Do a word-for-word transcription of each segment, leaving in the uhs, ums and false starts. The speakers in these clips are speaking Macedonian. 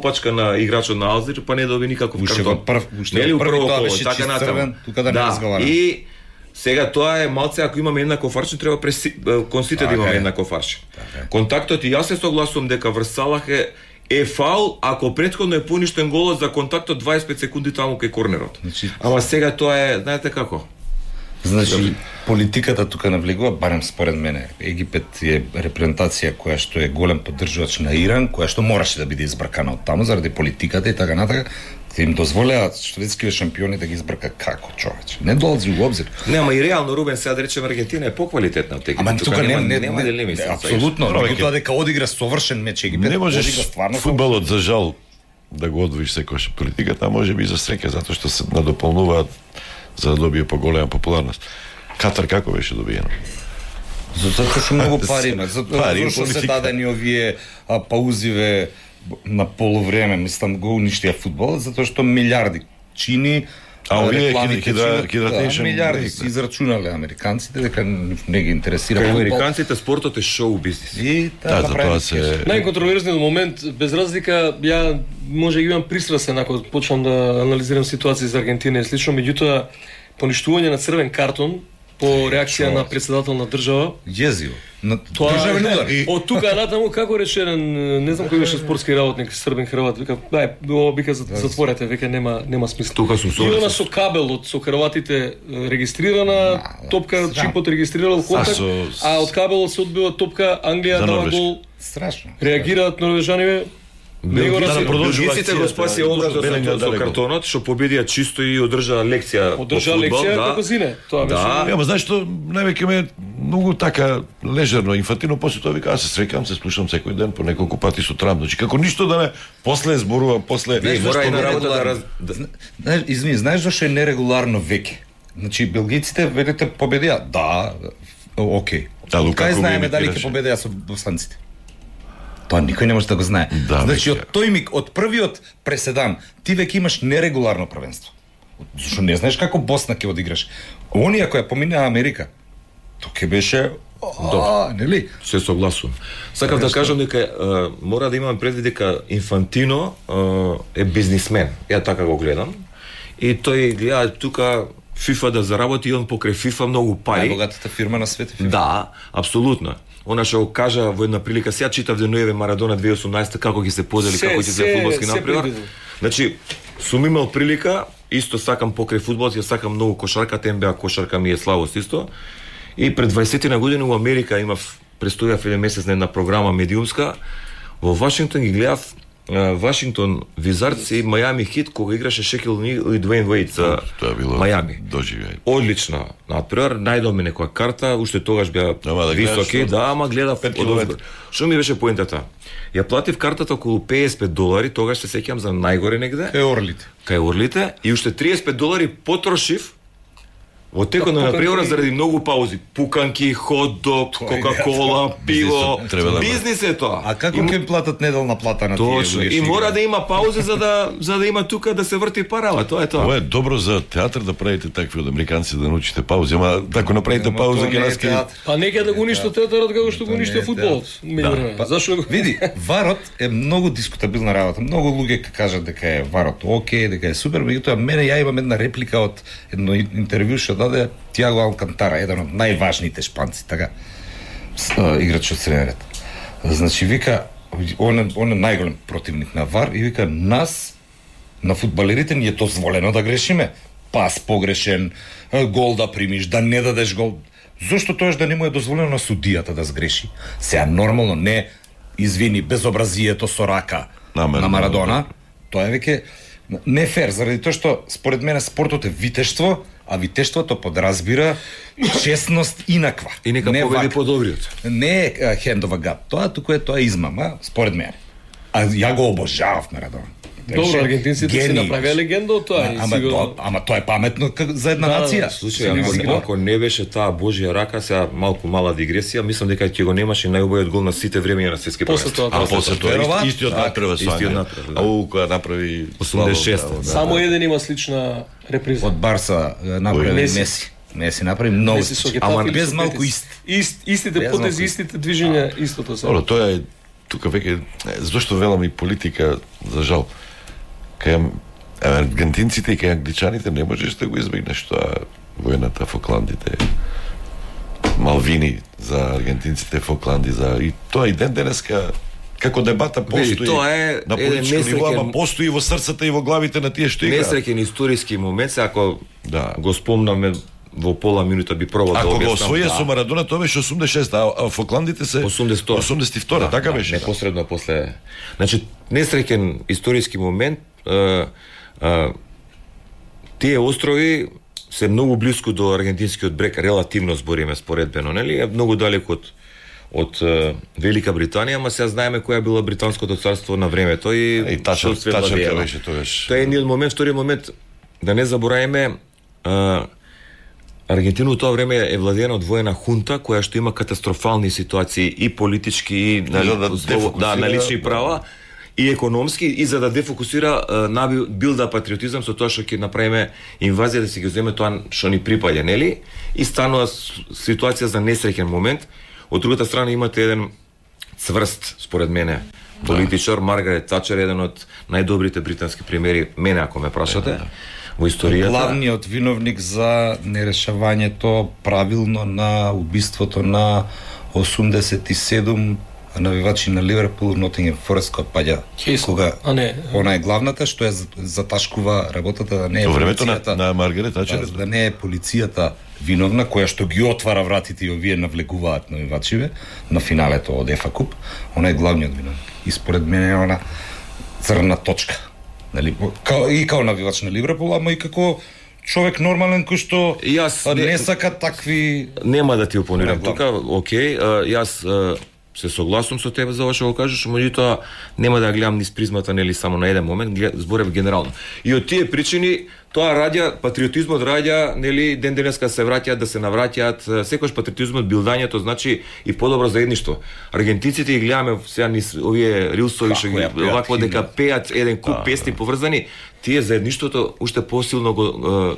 пачка на играчот на Алзир, па не доби никаков картон. Прв, Нели први прво тоа коло, беше така чист натаму. црвен, тука да не разговараме. И сега тоа е малце, ако имаме еднаков аршин, треба преси, кон сите да имаме еднаков аршин. Контактот и јас се согласувам дека врз Салах е е фаул ако претходно е поништен голот за контактот дваесет и пет секунди таму кај корнерот. Значи, ама сега тоа е, знаете како? Значи, политиката тука навлегува, барем според мене. Египет е репрезентација која што е голем поддржувач на Иран, која што мораше да биде избркана од таму заради политиката и така натака. Им дозволеа шведските шампиони да ги избрка како човече. Не долази во обзир. Не, ама и реално Рубен сега да речеме Аргентина е поквалитетна од Египет. Ама тука нема не, нема нема нема апсолутно, тоа дека одигра совршен меч Египет. Не можеш одигра стварно фудбалот за жал да го одвоиш секојаш политиката, а може би за среќа затоа што се надополнуваат за да добие поголема популарност. Катар како беше добиено? Затоа што многу пари има, затоа што се дадени овие а, паузиве на полувреме, мислам го уништија фудбалот, затоа што милиарди чини. А овие хидратешен милиарди се израчунале американците дека не ги интересира фудбал. Американците спортот е шоу бизнис. И да, за тоа се најконтроверзниот момент, без разлика, ја може имам пристрасен ако почнам да анализирам ситуација за Аргентина и слично, меѓутоа поништување на црвен картон по реакција на председател на држава. Језиво. На тоа државен удар. Од тука натаму како рече еден, не знам кој беше спортски работник, србен хрват, вика, ај, ова вика затворете, веќе нема нема смисла. Тука сум И она со кабелот со хрватите регистрирана топка, чипот регистрирал контакт, а од кабелот се одбива топка, Англија дава гол. Страшно. Реагираат норвежаниве. Белгиците го спаси образот со картонот, што победија чисто и одржаа лекција по одржаа лекција како зине. Тоа беше. Да, ама знаеш што, највеќе ме многу така лежерно, инфантилно, после тоа вика, аз се среќам, се слушам секој ден по неколку пати сутрам, значи како ништо да не после зборува, после не мора и на работа да раз... Знаеш, извини, знаеш зашто е нерегуларно веќе? Значи белгиците велите победија, да, окей. Кај знаеме дали ќе победија со босанците? Тоа никој не може да го знае. Да, значи од тој миг, од првиот преседан, ти веќе имаш нерегуларно првенство. Зашто не знаеш како Босна ќе одиграш. Оние која поминаа Америка, тоа ќе беше добро, нели? Се согласувам. Сакав да кажам дека е, мора да имам предвид дека Инфантино е, е бизнисмен. Ја така го гледам. И тој гледа тука FIFA да заработи и он покрај FIFA многу пари. Најбогатата фирма на светот. Да, апсолутно. Она што го кажа во една прилика, сега читав денуеве Марадона две тисучи и осумнаесета како ги се подели, како ќе се фудбалски напредок. Значи, сум имал прилика, исто сакам покрај фудбалот, ја сакам многу кошарката, Н Б А кошарка ми е славост исто. И пред дваесет на години во Америка имав престојав еден месец на една програма медиумска. Во Вашингтон ги гледав Вашингтон Визардс и Мајами Хит кога играше Шекил О'Нил и Дуейн Уейд за Мајами. Доживење. Одлично. Например, најдов ми некоја карта, уште тогаш беа да високи, да, ама гледав одозго. Што ми беше поентата? Ја платив картата околу педесет и пет долари, тогаш се сеќам за најгоре негде. Кај Орлите. Кај Орлите и уште триесет и пет долари потрошив во текот на напревара заради многу паузи. Пуканки, хот-дог, кока-кола, пиво. Бизнис е тоа. А како ќе платат неделна плата на тие луѓе? Точно. И мора да има паузи за да за да има тука да се врти парава. Тоа е тоа. Ова е добро за театар да правите такви од американци да научите паузи, ама ако направите пауза ќе нас ќе па нека да го уништат театарот како што го уништија фудбалот. Зашо? Види, варот е многу дискутабилна работа. Многу луѓе ќе кажат дека е варот окей, дека е супер, меѓутоа мене ја имам една реплика од едно интервју што даде Тиаго Алкантара, еден од најважните шпанци, така, играч од среден ред. Значи, вика, он е, он е најголем противник на ВАР и вика, нас, на фудбалерите, ни е дозволено да грешиме. Пас погрешен, гол да примиш, да не дадеш гол. Зошто тоеш да не му е дозволено на судијата да сгреши? Сега, нормално, не извини безобразието со рака на Марадона, тоа е веќе не фер, заради тоа што, според мене, спортот е витештво, а витештвото подразбира честност инаква. И нека не победи подобриот. Не е hand of a god. Тоа туку е тоа измама, според мене. А ја го обожавав Марадона. Добро, аргентинците си направија легенда од тоа. Ама, тоа, ама тоа е паметно за една да, нација. Слушај, ако, ако не беше таа Божја рака, сега малку мала дигресија, мислам дека ќе го немаше најубавиот гол на сите времења на светски првенства. А после тоа истиот направи Соања. Ау, која направи осумдесет и шеста. Само еден има слична реприза. Од Барса направи Меси. Меси направи многу. Ама без малку ист. Ист истите потези, истите движења, истото се. Тоа е тука веќе зошто велам и политика за жал. Кај аргентинците и кај англичаните не можеш да го избегнеш тоа војната Фокландите. Малвини за аргентинците, Фокланди за и тоа и ден денеска како дебата постои. Тоа е на политичко ниво, ама постои во срцата и во главите на тие што играат. Несреќен историски момент, се ако да го спомнаме во пола минута би пробал да објаснам. Ако го освоја да. Со Марадона тоа беше осумдесет и шеста, а Фокландите се осумдесет и втора, да, така да, беше. Непосредно после. Значи несреќен историски момент, а, а, тие острови се многу блиску до аргентинскиот брег, релативно збориме споредбено, нели? Е многу далеко од од uh, Велика Британија, ама сега знаеме која била британското царство на времето и и тачер, тачерка беше тогаш. Тоа е едниот момент, вториот момент да не забораваме uh, Аргентина во тоа време е владеена од воена хунта која што има катастрофални ситуации и политички и на, да, да, да, на лични права и економски и за да дефокусира uh, на билда патриотизам со тоа што ќе направиме инвазија да се ги земе тоа што ни припаѓа, нели? И станува ситуација за несреќен момент. Од другата страна имате еден цврст, според мене, политичар, да. Маргарет Тачер, еден од најдобрите британски премиери, мене ако ме прашате, да. Во историјата. Главниот виновник за нерешавањето правилно на убиството на осумдесет и седум навивачи на Ливерпул, Нотингем Форест, која паѓа Хейс. Кога а не, она е главната што ја заташкува работата, да не е во времето на, полицијата, на Маргарет Тачер, да, да не е полицијата виновна, која што ги отвара вратите и овие навлегуваат навивачиве на финалето од ЕФА Куп. Она е главниот виновник. И според мене е она црна точка. Нели, као, и као навивач на Ливерпул, ама и како човек нормален кој што јас не, не сака такви. Нема да ти опонирам тука, окей, а, јас а, се согласувам со тебе за ова што го кажеш, меѓутоа нема да ја гледам низ призмата нели само на еден момент, зборев генерално. И од тие причини тоа раѓа патриотизмот раѓа нели ден денеска се враќаат да се навраќаат, секојаш патриотизмот билдањето значи и подобро заедништво. Аргентинците ги гледаме сега низ овие рилсови што ги вакво дека пеат еден куп да, песни поврзани, тие заедништвото уште посилно го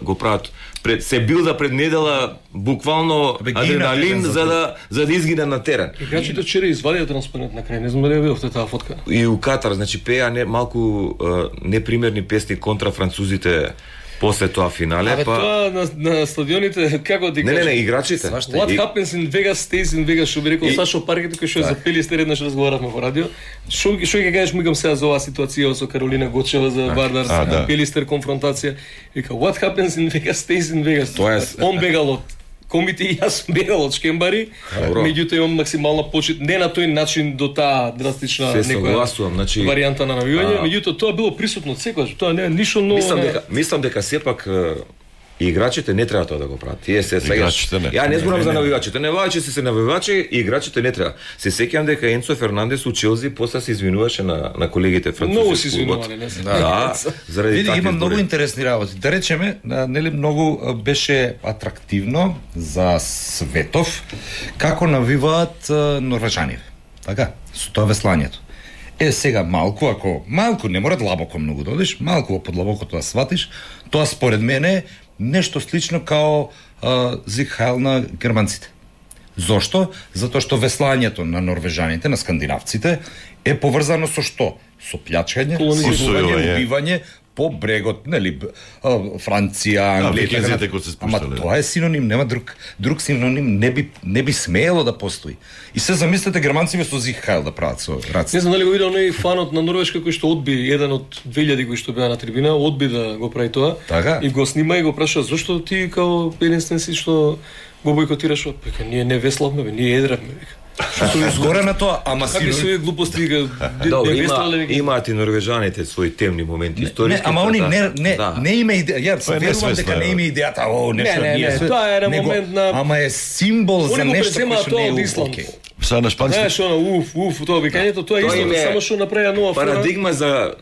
го прават. Пред се билда пред недела буквално адреналин за да за да изгине на терен. Играчите вчера извадија транспарент на крај, не знам дали ја видовте таа фотка. И у Катар, значи пеа не малку непримерни песни контра французите после тоа финале. Абе, па тоа на, на стадионите како ти Не, не, не, играчите. What и... happens in Vegas stays in Vegas, што би рекол и... Сашо Паркето кој што е за Пелистер еднаш разговаравме во радио. Што што ќе кажеш мигам сега за оваа ситуација со Каролина Гочева за Вардар а, да. Пелистер конфронтација. Вика what happens in Vegas stays in Vegas. Тоа е он бегал од комите и јас бегал од Шкембари, меѓутоа имам максимална почит, не на тој начин до таа драстична некоја значи... варијанта на навивање, а... меѓутоа тоа било присутно секогаш, тоа не е ништо ново. Мислам дека мислам дека сепак и играчите не треба тоа да го прават. Тие се сега. Ја не зборам за навивачите, навивачите се се навивачи и играчите не треба. Се сеќавам дека Енцо Фернандес у Челси после се извинуваше на на колегите французи. Многу се извинувале, не се. Да, заради Види, има многу интересни работи. Да речеме, нели многу беше атрактивно за светов како навиваат норвежаните. Така, со тоа веслањето. Е, сега малку, ако малку не мора длабоко многу да одиш, малку под длабокото да сватиш, тоа според мене нешто слично као Зиг Хайл на германците. Зошто? Затоа што веслањето на норвежаните, на скандинавците е поврзано со што? Со плячкање, силување, убивање по брегот, нели, Франција, Англија, ама тоа е синоним, нема друг друг синоним не би не би смеело да постои. И се замислете германците со Зиг Хайл да прават со раци. Не знам дали го видел оној фанот на Норвешка кој што одби еден од две илјади кои што беа на трибина, одби да го прави тоа. Така? И го снима и го праша зошто ти као единствен си што го бојкотираш, вика ние не веславме, бе, ние едравме, вика. Што е згоре на тоа, ама си се глупости Добро, има имаат и норвежаните свои темни моменти историски. Не, ама они не не не има идеја, ја се верувам дека не има идејата, о, нешто ние. Не, тоа е момент на ама е символ за нешто што не е окей. Са на шпански. Знаеш, она уф, уф, тоа викањето, тоа е исто, само што направија нова парадигма за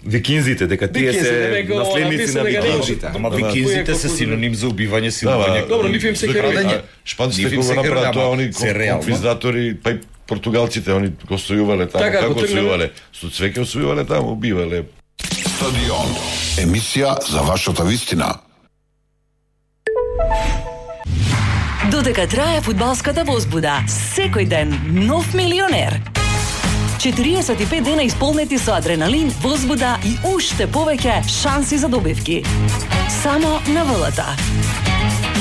викинзите, дека тие се наследници на викинзите. Ама викинзите се синоним за убивање, силување. Добро, ниф им се крадење. Шпанците го направаа тоа, они конквизатори, па и португалците, они го сојувале таму, како сојувале, со цвеќе освојувале таму, убивале. Стадион, емисија за вашата вистина. Додека трае фудбалската возбуда, секој ден нов милионер. четириесет и пет дена исполнети со адреналин, возбуда и уште повеќе шанси за добивки. Само на ВЛТ.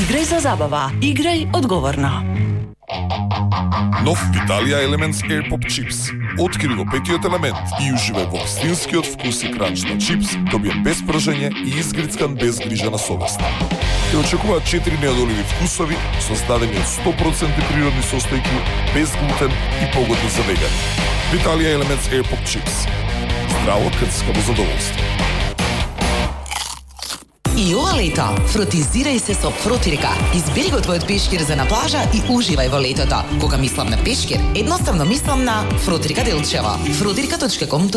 Играј за забава, играј одговорно. Нов Виталија Elements Air Pop Chips. Откри го петиот елемент и уживај во вистинскиот вкус и кранч на чипс, добиен без пржење и изгрицкан без грижа на совеста. Те очекуваат четири неодоливи вкусови, создадени од сто проценти природни состојки, без глутен и погодни за вегани. Виталија Elements Air Pop Chips. Здраво крцкаво задоволство. И ова лето, фротизирај се со Фротирка. Избери го твојот пешкир за на плажа и уживај во летото. Кога мислам на пешкир, едноставно мислам на Фротирка Делчево. фротирка точка ком